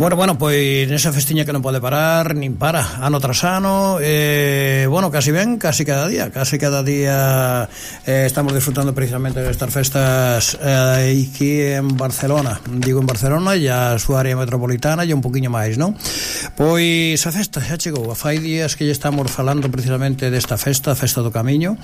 Bueno, pois nesa festiña que non pode parar, nin para, ano tras ano, casi cada día estamos disfrutando precisamente destas festas aquí en Barcelona, digo en Barcelona e a súa área metropolitana e un poquinho máis, non? Pois a festa xa chegou, fai días que lle estamos falando precisamente desta festa, a festa do Camiño,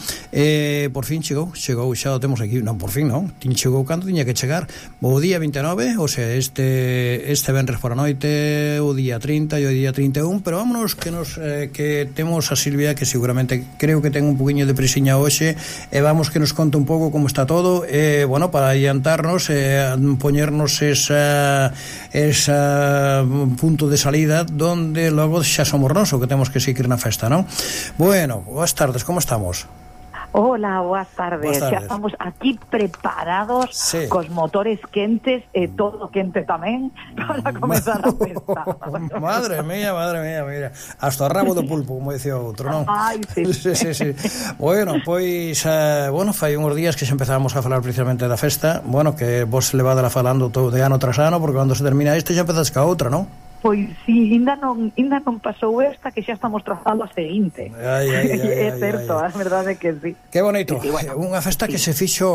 por fin chegou, xa o temos aquí, non, por fin non, chegou cando tiña que chegar, o día 29, o sea, este venres por a noite, o día 30 e o día 31, pero vámonos que temos a Silvia, que seguramente creo que ten un poquinho de presiña hoxe, e vamos que nos conte un pouco como está todo, para adiantarnos, poñernos esa punto de salida donde logo xa somos nós o que temos que seguir na festa, non? Bueno, boas tardes, como estamos? Hola, boas tardes. Xa estamos aquí preparados, sí, cos motores quentes e todo quente tamén para comenzar a festa. Madre mía, mira, hasta o rabo do pulpo, como dicía outro, non? Ai, sí. Sí. Bueno, pois fai uns días que xa empezamos a falar precisamente da festa, que vos levadela falando todo de ano tras ano, porque cando se termina este xa empezas ca outra, non? Pois si, ainda non pasou esta, que xa estamos trazando a seguinte. É certo, a verdade é que sí. Que bonito, sí, bueno, unha festa que se fixo,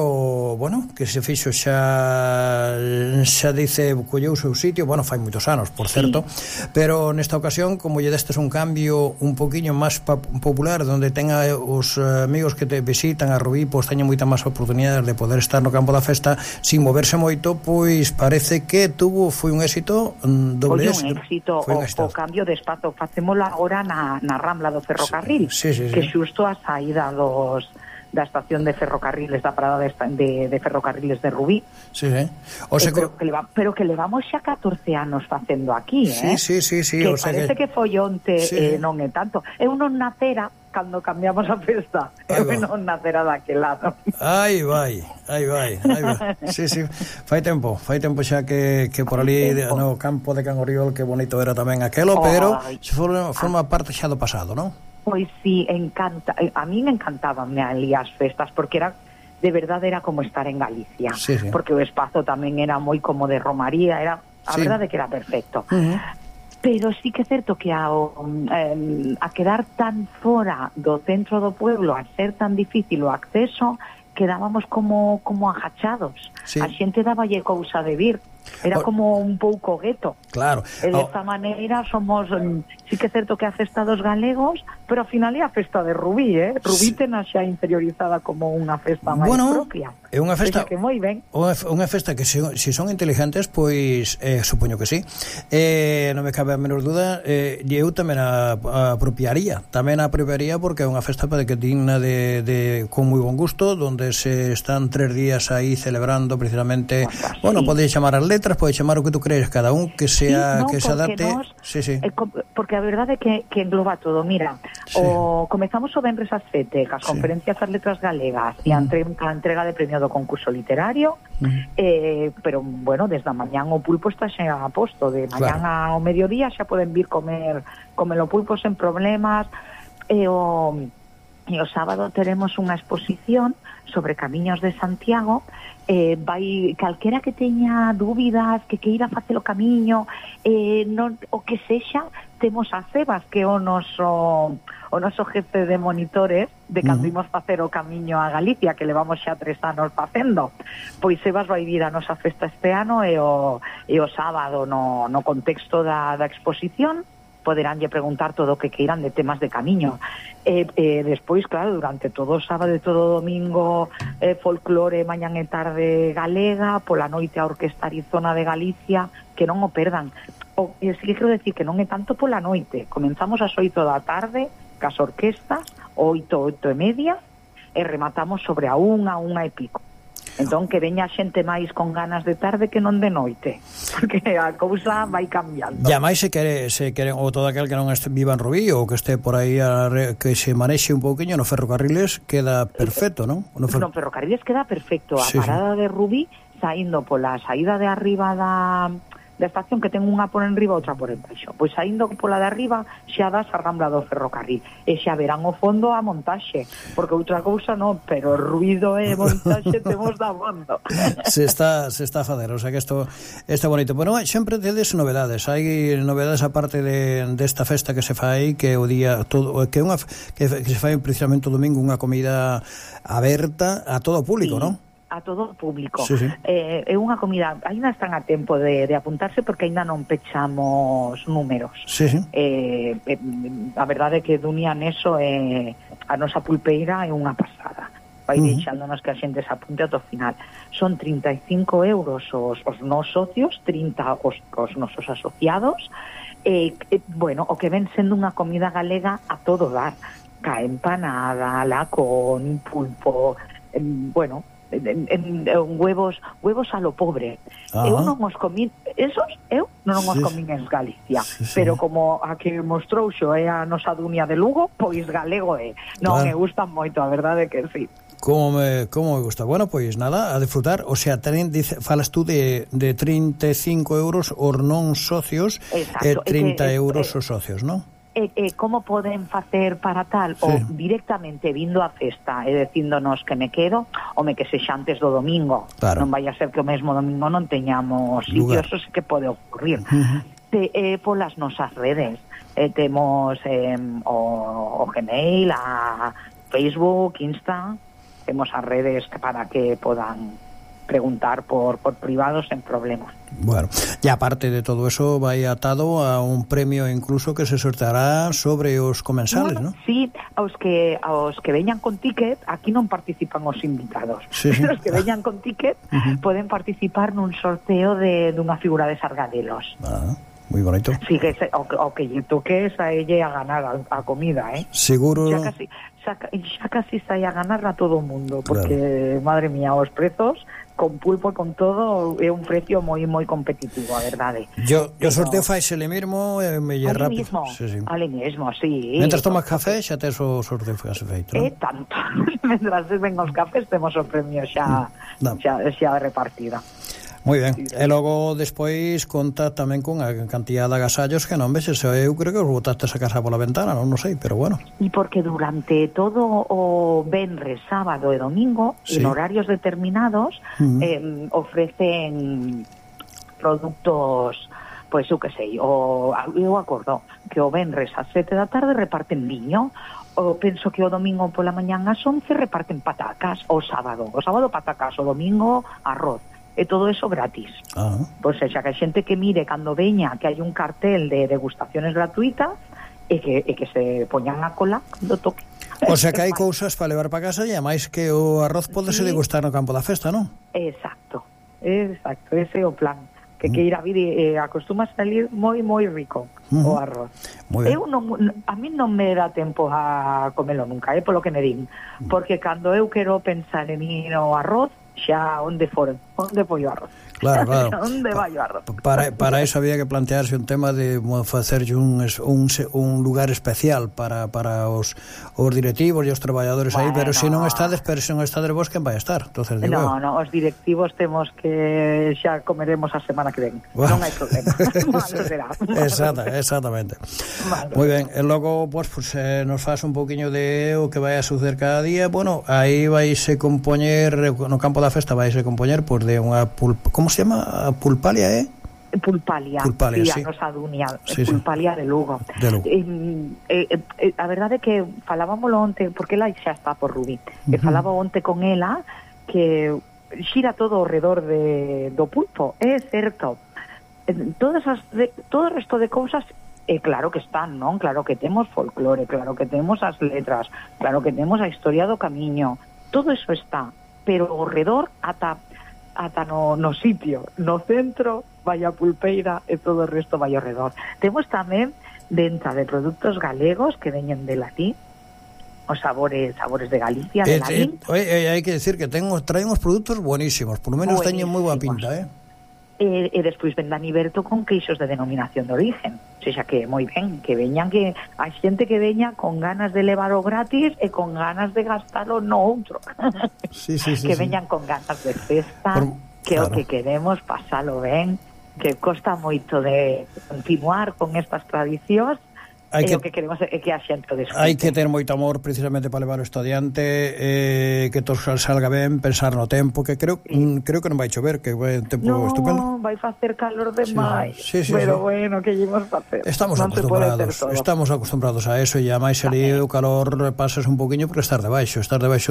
xa dice, colleu o seu sitio, fai moitos anos, por certo, pero nesta ocasión, como lle destes un cambio un poquinho máis popular, donde tenga os amigos que te visitan a Rubí, pois teñen moita máis oportunidades de poder estar no campo da festa sin moverse moito, pois parece que foi un éxito doble éxito o cambio de espazo. Facémolo agora na Rambla do Ferrocarril, sí. Que xusto a saída da estación de ferrocarriles, da parada de ferrocarriles de Rubí. Sí. O sea, pero que levamos xa 14 anos facendo aquí, Sí. Que parece que foi onte, non é tanto. Eu non nacera cando cambiamos a festa. Eu non nacera daquel lado. Aí vai. Sí. Fai tempo xa que por ali no campo de Can Oriol, que bonito era tamén aquelo, pero forma parte xa do pasado, non? Pois sí, encanta. A mí me encantaban ali as festas, porque de verdade era como estar en Galicia, sí. Porque o espazo tamén era moi como de romaría, a verdade que era perfecto. Pero sí que é certo que a quedar tan fora do centro do pueblo, a ser tan difícil o acceso, quedábamos como agachados. Sí. A xente daballe cousa de vir. Era como un pouco gueto. Claro. E desta maneira somos, sí que é certo que a festa dos galegos, pero ao final é a festa de Rubí, Rubí tena xa interiorizada como unha festa máis propia. É unha festa que moi ben. Unha festa que se son inteligentes, pois supoño que sí. Non me cabe a menor duda, eu tamén a apropiaría. Tamén a apropiaría porque é unha festa que digna de con moi bon gusto, donde se están 3 días aí celebrando precisamente, pode chamar as letras, pode chamar o que tú crees, cada un que sea que se adapte. Porque a verdade é que engloba todo. Mira, comezamos o venres ás 7 cas conferencias das letras galegas e a entrega de premio do concurso literario, pero desde a mañán o pulpo está xa a posto, de mañán ao mediodía xa poden vir comer o pulpo sen problemas. E o sábado teremos unha exposición sobre camiños de Santiago. Vai calquera que teña dúbidas, que queira facer o camiño, o que sexa, temos a Sebas, que é o noso jefe de monitores de cando imos facer o camiño a Galicia, que levamos xa 3 anos facendo. Pois Sebas vai vir a nosa festa este ano, e o sábado no contexto da exposición poderánlle preguntar todo o que queiran de temas de camiño. Despois, claro, durante todo o sábado e todo o domingo, folclore mañán e tarde galega, pola noite a Orquesta Arizona de Galicia, que non o perdan. Sí que quero decir que non é tanto pola noite. Comenzamos ás 8 da tarde, cas orquestas, 8 e media, e rematamos sobre a 1 e pico. Entón, que veña xente máis con ganas de tarde que non de noite, porque a cousa vai cambiando. E máis se queren, ou todo aquel que non viva en Rubí, ou que este por aí, que se manexe un pouquiño no ferrocarriles, queda perfecto, non? No ferrocarriles queda perfecto. A parada de Rubí, saindo pola saída de arriba da estación que ten unha por enriba outra por embaixo. Pois saindo pola de arriba xa das a Rambla do Ferrocarril e xa verán o fondo a montaxe, porque outra cousa non, pero ruido e montaxe temos da bondo. Se está a fazer, o sea que isto está bonito. Bueno, sempre tedes novedades, hai novedades aparte desta festa que se fai, que o día todo, que se fai precisamente o domingo unha comida aberta a todo o público, sí, non? A todo o público. Sí, sí. É unha comida, ainda están a tempo de apuntarse porque ainda non pechamos números. Sí, sí. A verdade é que Dunia neso a nosa pulpeira é unha pasada. Vai deixándonos que a xente se apunte ao final. Son 35 euros os nos socios, 30 os nosos asociados. Bueno, o que ven sendo unha comida galega a todo dar. Ca empanada, lacón, pulpo, bueno, huevos a lo pobre. Eu non os comín, eu non os comín en Galicia, pero como a que mostrou xo é a nosa Dunia de Lugo, pois galego é. Non me gustan moito, a verdade que sí. Como me gusta. Bueno, pois nada, a disfrutar. O sea, falas tú de 35 euros os non socios. Exacto, e 30 euros os socios, non? Como poden facer para tal? Sí. O directamente vindo a festa e dicíndonos que me quedo, home, que sexa antes do domingo. Claro. Non vai a ser que o mesmo domingo non teñamos sitios, eso sí que pode ocurrir. Polas nosas redes. Temos o Gmail, a Facebook, Insta, temos as redes para que podan preguntar por privado sen problemas. Bueno, e aparte de todo eso vai atado a un premio incluso que se sorteará sobre os comensales, ¿no? Sí, aos que veñan con ticket, aquí non participan os invitados. Sí. Os que veñan con ticket poden participar nun sorteo dunha figura de Sargadelos. Moi bonito. Sí, que o que lle toque a ella a ganar a comida, Seguro. Xa casi sai a ganar a todo o mundo, porque, madre mía, os prezos con pulpo e con todo é un precio moi competitivo, a verdade. Yo sorteo faisele mesmo e me lle rápido. Ali mesmo, sí. Mentras tomas café xa tes o sorteo feito, non? Tanto. Mentras ven os cafés temos o premio xa repartida. Moi ben, e logo despois conta tamén con a cantidad de agasallos que non vexes, eu creo que os botaste a casa pola ventana, non sei, pero bueno. E porque durante todo o venres, sábado e domingo, en horarios determinados, ofrecen produtos, pois eu que sei, eu acordo que o venres ás 7 da tarde reparten viño, penso que o domingo pola mañán ás 11 reparten patacas, o sábado patacas, o domingo arroz. E todo eso gratis. Pois xa que a xente que mire cando veña que hai un cartel de degustaciones gratuitas e que se poñan a cola cando toque. O sea que hai cousas para levar para casa e ademais que o arroz podese degustar no campo da festa, non? Exacto, ese é o plan. Que ir a vir acostuma salir moi rico o arroz. A mí non me dá tempo a comelo nunca, polo que me din, porque cando eu quero pensar en ir ao arroz, xa onde foi o arroz. Claro. Onde vai o arroz? Para eso había que plantearse un tema de facerlle un lugar especial para os directivos e os traballadores aí, pero se non estades vos, quen vai estar? Entonces, non, os directivos temos que xa comeremos a semana que ven. Non hai problema. Malo será. Exactamente. Moi ben, e logo pues nos faz un poquinho de o que vai a suceder cada día. Bueno, aí vaise compoñer no campo da festa vaise compoñer por de unha como se llama? Pulpalia, Pulpalia, sí. A nosa Dunia, Pulpalia de Lugo. A verdade é que falábamoslo onte, porque ela xa está por Rubí, falaba onte con ela que xira todo ao redor do pulpo, é certo. Todo o resto de cousas claro que están, non? Claro que temos folclore, claro que temos as letras, claro que temos a historia do camiño, todo eso está, pero ao redor ata no sitio, no centro vai a pulpeira e todo o resto vai ao redor. Temos tamén venta de produtos galegos que veñen de Latí, os sabores de Galicia, de Lalín. Hai que decir que traen os produtos buenísimos, por lo menos teñen moi boa pinta, E despois ven Dani Berto con queixos de denominación de origen. O sea que moi ben, que veñan, que hai xente que veña con ganas de levarlo gratis e con ganas de gastalo no outro. Sí, que veñan con ganas de festa, que o que queremos pasalo ben que costa moito de continuar con estas tradicións. O que queremos é que a xente o desfrute. Hai que ter moito amor precisamente para levar o estudiante, que todo salga ben, pensar no tempo, que creo que non vai chover, que vai un tempo estupendo. Non, vai facer calor demais, sí, pero bueno, que ímos facer? Estamos acostumbrados a eso, e a máis ali o calor pasas un poquinho por estar debaixo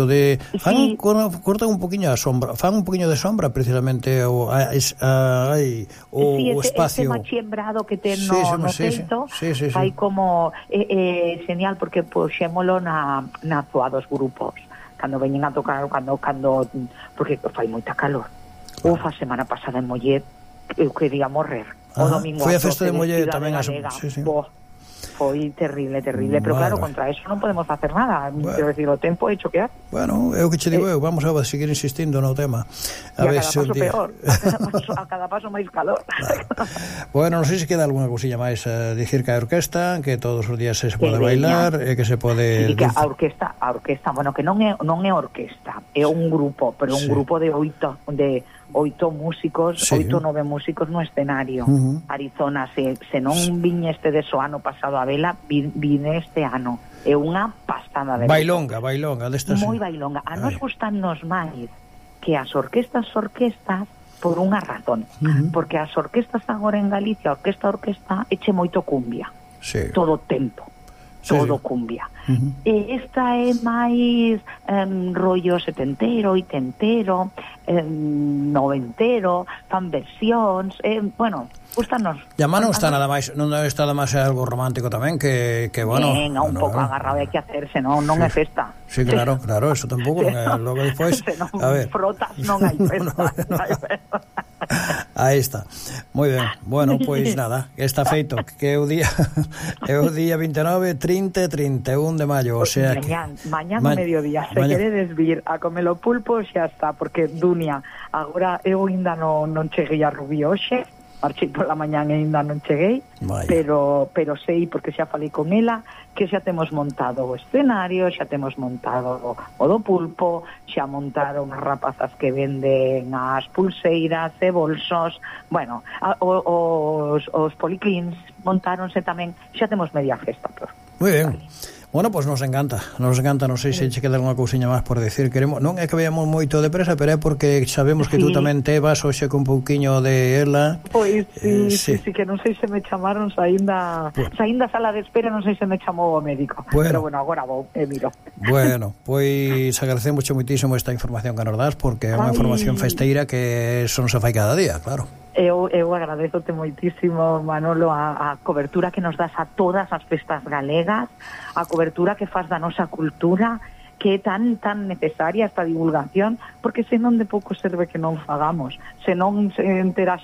de... Cortan un poquinho a sombra, fan un poquinho de sombra precisamente o espacio. Ese machiembrado que ten no teito, hai como genial, porque puxémolo na zoa dos grupos cando veñen a tocar, cando porque fai moita calor. A semana pasada en Mollet eu quería morrer. O domingo foi a festa de Mollet tamén. Foi terrible, pero claro, contra eso non podemos facer nada. Quero decir, o tempo é choquear. Bueno, é o que che digo eu, vamos a seguir insistindo no tema. A ver, cada paso peor, a cada paso máis calor. Bueno, non sei se queda alguna cousiña máis a dicir que a orquesta, que todos os días se pode bailar, e que se pode... Sí, que a orquesta, bueno, que non é orquesta, é un grupo, pero un grupo de 8 músicos, 8-9 músicos no escenario. Arizona, se non viñe este de so ano pasado a vela, vine este ano. É unha pastada de bailonga destas. Moi bailonga. A nos gustannos máis que as orquestas por unha razón. Porque as orquestas agora en Galicia, orquesta, eche moito cumbia. Todo o tempo. Cumbia. E esta é máis rollo setentero, oitentero, noventero, fan versións, bueno, gustanos. E a non está nada máis, non está nada máis algo romántico tamén, que bueno... Venga, un pouco agarrado hai que hacerse, non é festa. Sí, claro, eso tampouco, logo despois... A ver, frotas, non hai festa. Aí está. Moi ben. Bueno, pois nada, está feito, que é o día 29, 30 e 31 de maio, o sea que mañán ao mediodía, se queredes vir a comer o pulpo, xa está, porque Dunia, agora eu ainda non cheguei a Rubí hoxe, marchei pola mañán e ainda non cheguei, pero sei, porque xa falei con ela, que xa temos montado o escenario, xa temos montado o do pulpo, xa montaron as rapazas que venden as pulseiras e bolsos, bueno, os policlins montáronse tamén, xa temos media festa. Moi ben. Bueno, pois nos encanta, non sei se che queda alguna cousiña máis por decir. Non é que veamos moito depresa, pero é porque sabemos que tú tamén te vas hoxe con un pouquiño de ela. Pois sí, que non sei se me chamaron saínda sala de espera, non sei se me chamou o médico, pero bueno, agora vou e miro. Bueno, pois agradecemos moitísimo esta información que nos das, porque é unha información festeira que son se fai cada día, claro. Eu agradezote moitísimo, Manolo, a cobertura que nos das a todas as festas galegas, a cobertura que faz da nosa cultura, que é tan necesaria esta divulgación, porque senón de pouco serve que non fagamos, senón se entera